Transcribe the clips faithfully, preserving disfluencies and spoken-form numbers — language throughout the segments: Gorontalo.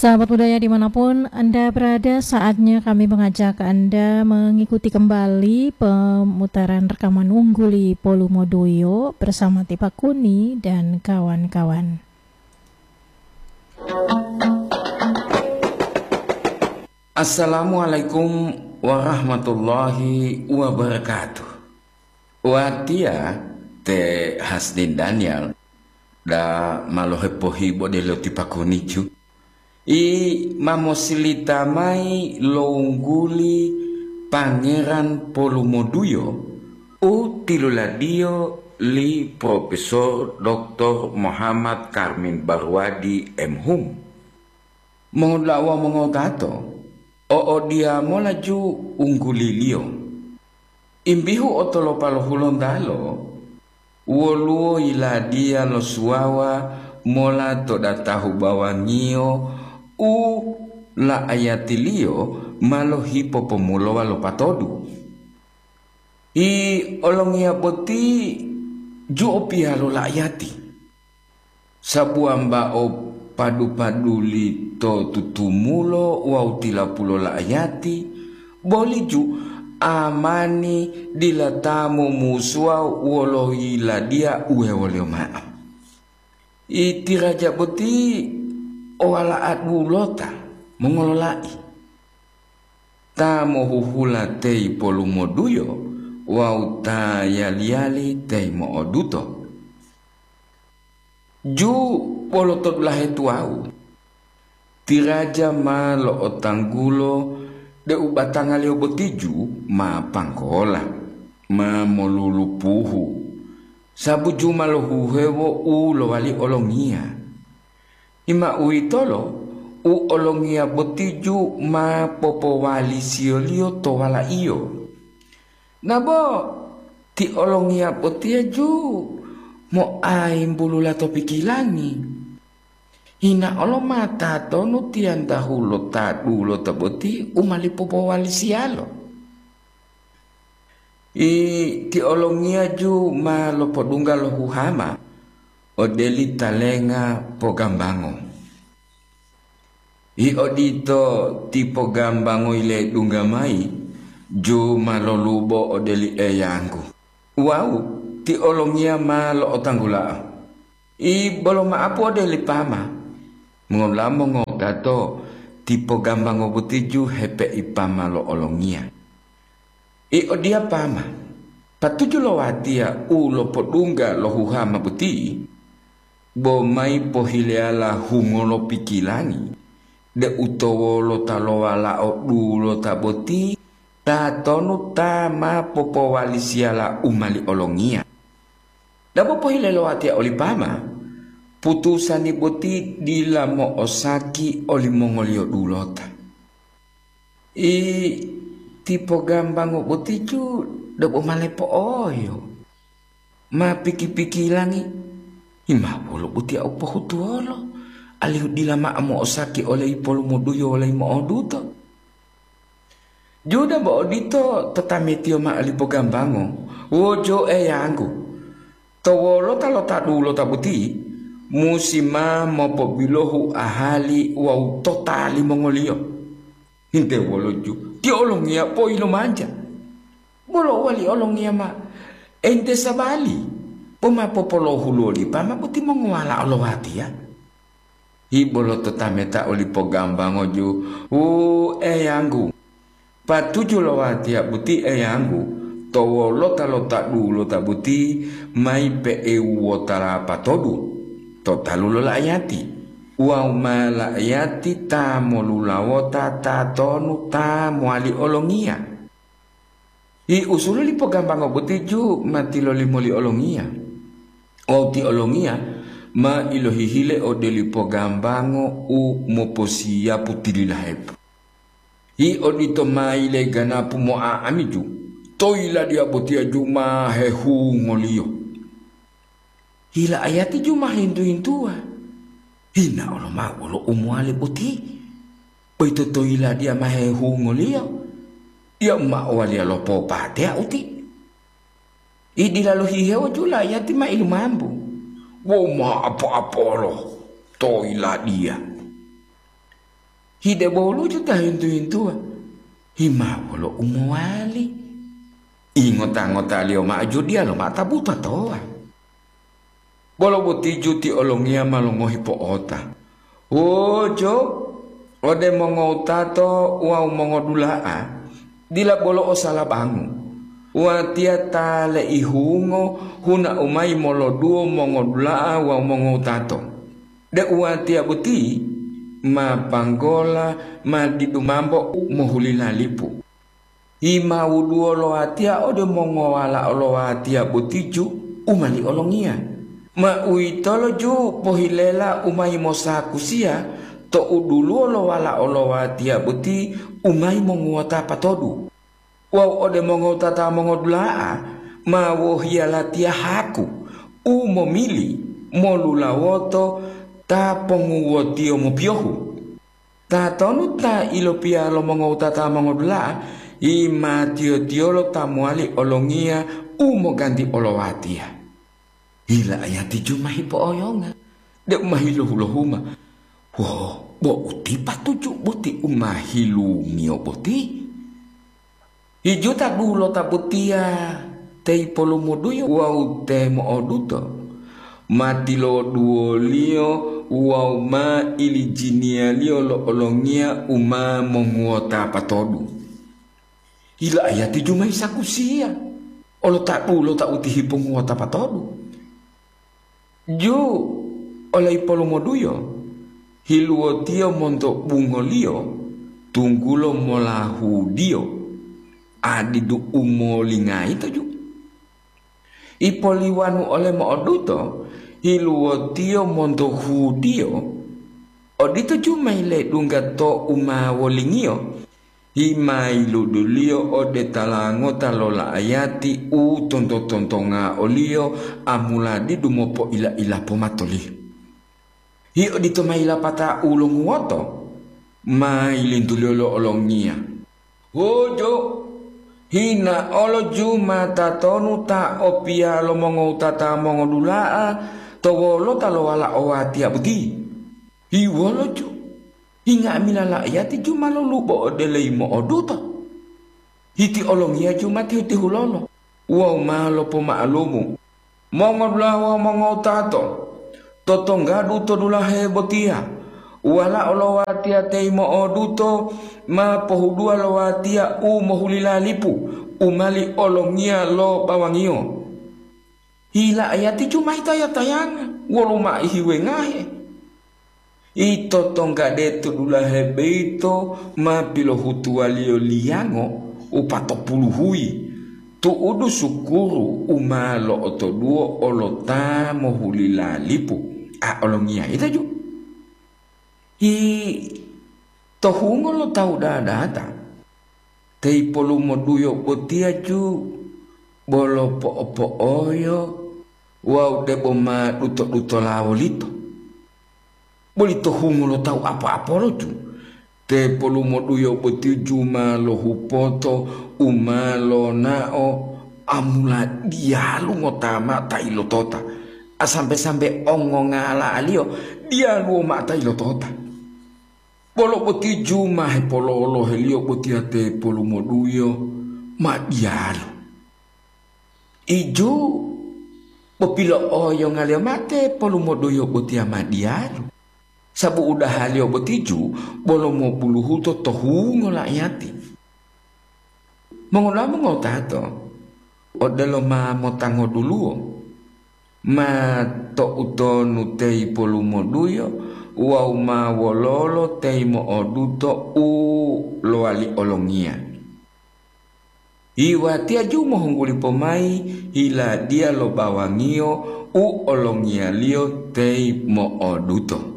Sahabat budaya dimanapun Anda berada, saatnya kami mengajak Anda mengikuti kembali pemutaran rekaman Ungguli Polumoduyo bersama Tipakuni dan kawan-kawan. Assalamualaikum warahmatullahi wabarakatuh. Watiya te Hasdin Daniel da ma lohepohibo de lo Tipakuni ju. I ma mosilita mayi lo ungguli Pangeran Polumoduyo u tiluladiyo li Profesor Doktor Muhammad Karmin Barwadi, M Hum. Mongoda'a wawu mongotato, o odiyamola ju ungguliliyo. Imbihu otolopa lo Hulontalo, woluwo yiladiya lo suwawa mola to datahu bawangiyo u la'ayatiliyo ma lohipopomulowa lo patodu. I olongiya boti ju o piya lo la'ayati. Sabuwambao padu-paduli to tutumulo wawu tilapulo la'ayati, boli ju amani dila ta momusuwa wolo yiladiya uwewoliyo ma'o. Iti raja boti o wala'a dulota mongolola'i, ta mohuhula teyi polumoduyo wawu ta yali-yali teyi mo'oduto. Ju bolo to dulahe tuwawu, ti raja ma lo'otanggulo deu batangaliyo boti ju ma panggola, ma molulupuhu, sabu ju ma lohuhewo u lowali olongiya. Ima uwitolo, u olongiya boti ju ma popowalisiyoliyo to wala'iyo. Nabo ti olongiya botiya ju moayimbulula to pikilangi. Hinaolo ma tatonu tiyantahu lo ta dulota boti u ma lipopowalisiyalo. I ti olongiya ju ma lopodungga lo huhama ode li talenga pogambango. I odito ti pogambango yiledungga mayi, ju ma lolubo ode li Eyanggu. Wawu ti olongiya ma lo'otanggula'o. I bolo ma'apu ode li pama. Mongola mongogato ti pogambango boti ju hepeipama lo olongiya. I odiya pama, patuju lo watiya u lopodungga lo huhama boti, bo mayi pohileyala hungo lo pikilangi, deu to wolota lo walao dulota boti tatonu ta ma popowalisiyala u mali olongiya. Dabo pohile lo watiya oli pama, putusani boti dila mo'osaki olimongoliyo dulota. I ti pogambango boti ju debo ma lepo'oyo. Ma piki-pikilangi, hima wolo botiya u pohutuwolo, alihu dila mao mo'osaki ole ipolumoduyo wole mo'oduto. Juda bo odito to tametiyo mao li pogambango, wojo Eyanggu, to wolota lo ta dulota boti, musi ma mopobilohu ahali wawu tota limongoliyo. Hinte wolo ju, ti olongiya poilomanja. Bolo wali olongiya ma ente sabali, bo ma popolohulo li pama boti mongowala'o lo watiya. Hibolo to tameta oli pogambango ju, wu Eyanggu, patuju lo watiya boti Eyanggu, to wolota lo ta dulota boti mayi pe'euwota lapatodu to talu lo la'ayati, wawu ma la'ayati ta molulawota tatonu ta mowali olongiya. Ti usulu li pogambango boti ju ma tilolimo li olongiya. Wawu ti olongiya ma ilohihile ode li pogambango u moposiyapu tililahepu. Ti odito ma yileganapu mo'a'amiju, to yiladiya botiya ju ma hehungoliyo. Hila ayati ju ma hintu-hintuwa. Hina oloma'o wolo u mowali boti. Boyito to yiladiya ma hehungoliyo. Diya u ma owaliya lopopateya uti. Idila lohihewo ju la ayati ma ilumambu. Wo ma apo-apolo to yiladiya. Hideboluju ta hintu-hintuwa, himawolo u mowali. Ingota-ngotaliyo ma'o ju diya loma'o ta butatowa. Bolo boti ju ti olongiya ma longohi po'ota. Wojo, ode mongowutato wawu mongodula'a, dila bolo o salabangu. Watiya ta leihungo huna'u mayi moloduwo mongodula'a wawu mongowutato. Deu watiya boti ma panggola ma didu mambo mohulila lipu. Himawuduwo lo watiya ode mongowala'o lo watiya boti ju u mali olongiya. Ma uwitolo ju pohilela u mayi mosakusiya to uduluwo lo wala'o lo watiya boti u mayi monguwota patodu. Wawu ode mongowutata mongodula'a ma wohiya latiya haku u momili molulawoto ta ponguwotiyo mopiyohu. Tatonu ta ilopiya lo mongowutata mongodula'a, himatiyo-tiyolo ta mowali olongiya u moganti olowatiya? Hila ayati ju ma hipo'oyonga, deu ma hilohu-lohuma. Wo, bo uti patuju boti u ma hilungiyo boti? Hijuta dulota botiya te ipolumuduyo wawu te mo'oduto, ma tiloduwoliyo wawu ma ilijiniyaliyo lo olongiya u ma monguwota patodu. Hila ayati ju ma hisakusiya olo ta dulota uti hiponguwota patodu. Ju ole ipolomoduyo, hiluwotiyo monto bungoliyo, tunggulo molahudiyo, a didu u molingayito ju. Ipoliwanu ole mo'oduto, hiluwotiyo monto hudiyo, odito ju ma yiledungga to u ma wolingiyo. Himayiluduliyo ode tala ngota lo la'ayati u tonto-tontonga oliyo amuladidu mopoila-ila pomatoliyo. Hi odito ma yilapata u longuwoto, ma yilintuliyo lo olongiya. Huju, hina olo ju ma tatonu ta o piya lo mongowutata mongodula'a to wolota lo wala'o watiya boti? Hi wolo ju? Hi nga'amila la'ayati ju ma lolubo ode leyi mo'oduto. Hiti olongiya ju ma tihu-tihulolo wawu ma lopoma'alumu. Mongodula'a wawu mongowutato, totonggadu to dulahe botiya, wala'o lo watiya teyi mo'oduto ma pohuduwa lo watiya u mohulila lipu u mali olongiya lo bawangiyo. Hi la'ayati ju ma hitaya-tayanga wolo maihi wengahe. Ito tonggade to dulahe boyito ma pilohutuwaliyo liyango u patopuluhuyi, tu'udu sukuru u ma lo'otoduwo olo ta mohulila lipu, a olongiya ita ju. Hi to hungo lo tawu dadata, te ipolumoduyo botiya ju bolo po'o-po'oyo wawu debo ma duto-dutola wolito. Boli to hungo lo tawu apo-apolo ju, te polumoduyo boti ju ma lohupoto u ma lonao amula diyalu ngota mao ta ilotota, a sambe-sambe ongongala'aliyo diyaluwo mao ta ilotota. Bolo boti ju ma hepololoheliyo botiya te polumoduyo ma diyalu. Iju popilo'oyongaliyo mate polumoduyo botiya ma diyalu, sabu udahaliyo boti ju bolo mobuluhuto to hungo la'ayati. Mongola mongotato, odelo ma motangoduluwo, ma to'utonu teyi polumoduyo wawu ma wololo teyi mo'oduto u lowali olongiya. Iwatiya ju mohungguli pomayi hiladiya lo bawangiyo u olongiyaliyo teyi mo'oduto.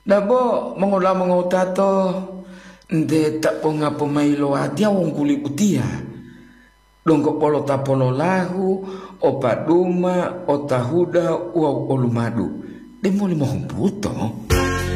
Dabo mongola mongowutato, nte ta ponga pomayi lo watiya wungguli utiya, donggo bolo ta pololahu, o paduma, o tahuda wawu o lumadu, demoli mohumbuto.